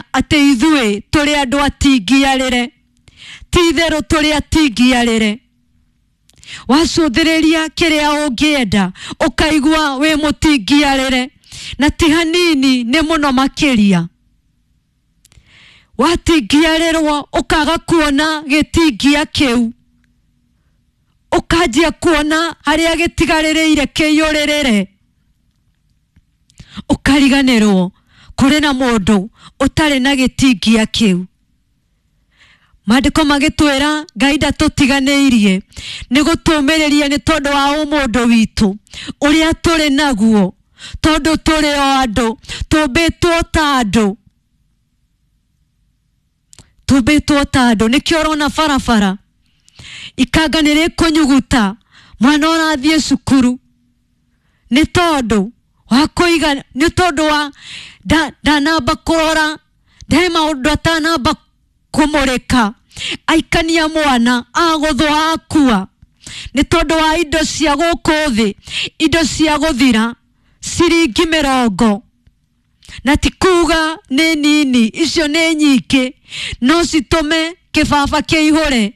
Kũmenya atĩ ithuĩ tũrĩ andũ atingiarĩre, ti itherũ tũrĩ atingiarĩre. Wacũthĩrĩria kĩrĩa ũngĩenda ũkaigua wĩ mũtingiarĩre, na ti hanini, nĩ mũno makĩria. Watingiarĩrwo ũkaga kuona gĩtingia kĩu, ũkanjia kuona harĩa gĩtigarĩrĩire kĩiyũrĩrĩre, ũkariganĩrwo kũrĩ na mũndũ ũtarĩ na gĩtingia kĩu. Maandĩko magĩtwĩra Ngai ndatũtiganĩirie, nĩ gũtũmĩrĩria nĩ tondũ wa ũmũndũ witũ ũrĩa tũrĩ naguo, tondũ tũrĩ o andũ, tũmbĩtwo ta andũ, tũmbĩtwo ta andũ. Nĩkĩo ũrona barabara ikanga nĩ rĩkũnyuguta mwana ũrathiĩ cukuru, nĩ tondũ wa kũiga, nĩ tondũ wa ndanamba kũrora, ndarĩ maũndũ atanamba kũmũrĩka, aikania mwana agũthwo akua, nĩ tondũ wa indo cia gũkũ thĩ, indo cia gũthira, ciringi 20. Na ti kuga nĩ nini, icio nĩ nyingĩ, no citũme kĩbaba kĩihũre.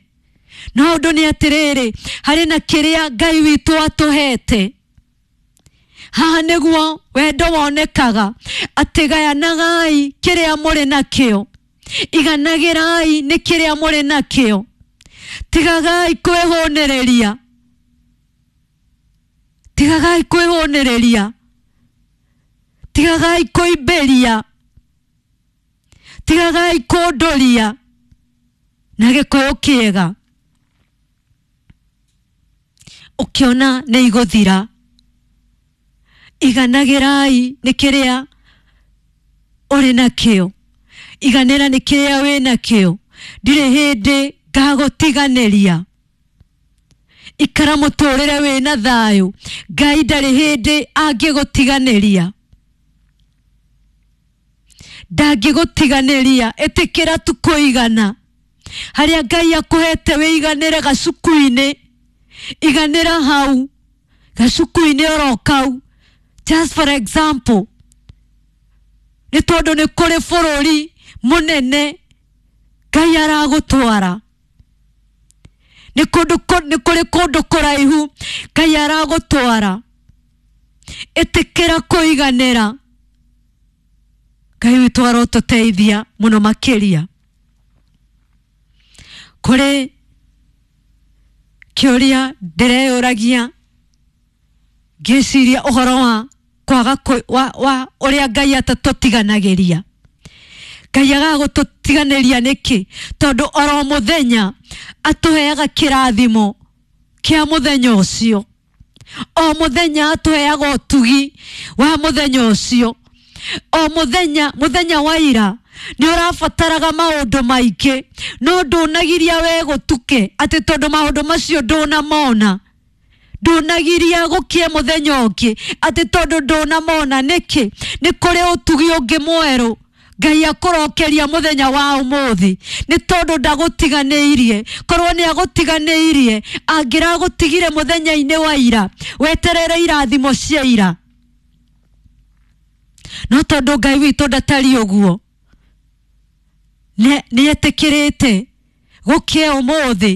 No ũndũ nĩ atĩrĩrĩ, harĩ na kĩrĩa Ngai witũ atũhete haha, nĩguo wendo wonekaga, atĩ gayanagai kĩrĩa mũrĩ nakĩo, iganagĩrai nĩ kĩrĩa mũrĩ nakĩo, tigagai kwĩhũnĩrĩria, tigagai kwĩhũnĩrĩria, tigagai kũimbĩria, tigagai kũndũria na Gĩkũyũ kĩega. Ũkĩona nĩ igũthira, iganagĩrai nĩ kĩrĩa ũrĩ nakĩo, iganĩra nĩ kĩrĩa wĩ nakĩo. Ndirĩ hĩndĩ ngagũtiganĩria. Ikara mũtũrĩre wĩna thayũ, Ngai ndarĩ hĩndĩ angĩgũtiganĩria, ndangĩgũtiganĩria. Ĩtĩkĩra tu kũigana harĩa Ngai akũhete, wĩiganĩre gacuku-inĩ, iganĩra hau gacuku-inĩ oro kau, just for example, nĩ tondũ nĩ kũrĩ bũrũri mũnene Ngai aragũtwara, nĩ kũndũ nĩ kũrĩ kũndũ kũraihu Ngai aragũtwara. Ĩtĩkĩra kũiganĩra. Ngai witũ arotũteithia mũno makĩria. Kũrĩ kĩũria ndĩreyũragia ngĩciria ũhoro wa kwaga wa ũrĩa Ngai atatũtiganagĩria. Ngai agaga gũtũtiganĩria nĩkĩ? Tondũ oro mũthenya atũheaga kĩrathimo kĩa mũthenya ũcio, o mũthenya atũheaga ũtugi wa mũthenya ũcio, o mũthenya. Mũthenya wa ira nĩ ũrabataraga maũndũ maingĩ, no ndũnagiria we gũtuke atĩ tondũ maũndũ macio ndũnamona, ndũnagiria gũkie mũthenya ũngĩ atĩ tondũ ndũnamona. Nĩkĩ? Nĩ kũrĩ ũtugi ũngĩ mwerũ Ngai akũrokeria mũthenya wa ũmũthĩ, nĩ tondũ ndagũtiganĩirie. Korwo nĩ agũtiganĩirie, angĩragũtigire mũthenya-inĩ wa ira weterere irathimo cia ira. No tondũ Ngai witũ ndatariĩ ũguo, nĩ etĩkĩrĩte gũkĩe ũmũthĩ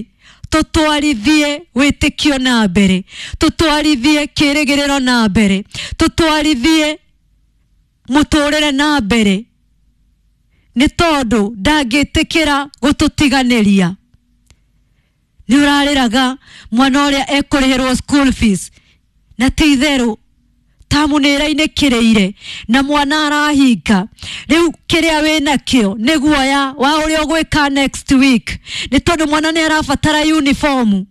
tũtwarithie wĩtĩkio na mbere, tũtwarithie kĩrĩgĩrĩro na mbere, tũtwarithie mũtũrĩre na mbere, nĩ tondũ ndangĩtĩkĩra gũtũtiganĩria. Nĩ ũrarĩraga mwana ũrĩa ekũrĩhĩrwo school fees, na ti itherũ tamu nĩ ĩrainĩkĩrĩire na mwana arahinga. Rĩu kĩrĩa wĩ nakĩo nĩ guoya wa ũrĩa ũgwĩka next week, nĩ tondũ mwana nĩ arabatara uniform,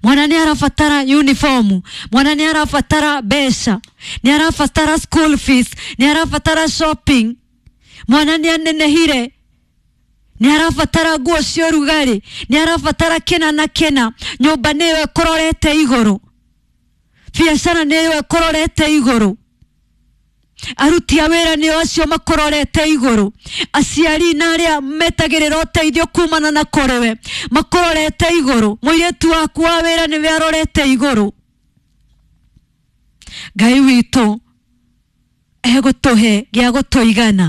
mwana nĩ arabatara uniform, mwana nĩ arabatara mbeca, nĩ arabatara school fees, nĩ arabatara shopping, mwana nĩ anenehire, nĩ arabatara nguo cia ũrugarĩ, nĩ arabatara kĩna na kĩna. Nyũmba nĩyo ĩkũrorete igũrũ, biacara nĩyo ĩkũrorete igũrũ, aruti a wĩra nĩo acio makũrorete igũrũ, aciari na arĩa metagĩrĩra ũteithio kumana na kũrĩwe makũrorete igũrũ, mũirĩtu waku wa wĩra nĩwe arorete igũrũ. Ngai witũ egũtũhe gĩa gũtũigana.